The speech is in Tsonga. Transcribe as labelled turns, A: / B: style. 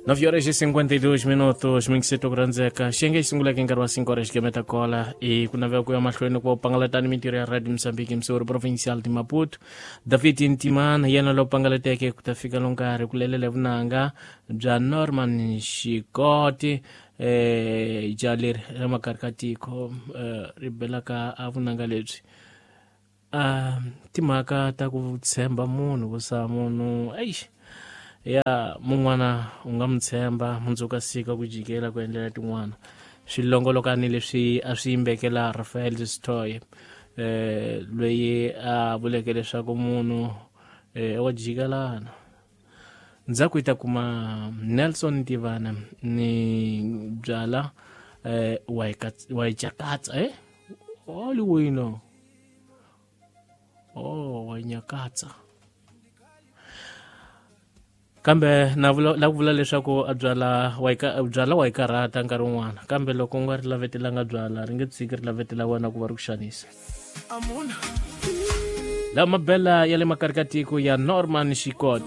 A: 9 horas e 52 minutos mingiseto ku rhandzeka xiyenge xi sunguleke nkarhi wa 5 horas xigeme ta kola i ku navela ku ya mahlweni ku va u pangalatani mintirho ya radio mozambique msori provincial de maputo David Ntimana yena lowu pangalateke ku ta fika lo nkarhi ku lelela vunanga bya Norman Xikoti ja leri ra makari ka tiko ri belaka a vunanga lebyi timhaka ta ku tshemba munhu ku sa munhu eish ya mun'wana u nga mu tshemba mundzuku a sika ku jikela ku endlela tin'wana swilongolokani leswi a swi yimbekela Rafael Stoy loyi a vuleke leswaku munhu wa jikelana ndzhaku yi ta kuma Nelson Ntivana ni byala wa yi cakatsa Hollywood oh wa nyakatsa kambe na vula la ku vula leswaku a byala wa yi byala wa yi karhata nkarhi wun'wana kambe loko u nga ri lavetelanga byala ri nge tshiki ri lavetela wena ku va ri ku xanisa lama mabela ya le makari ka tiko ya Norman Xikoti.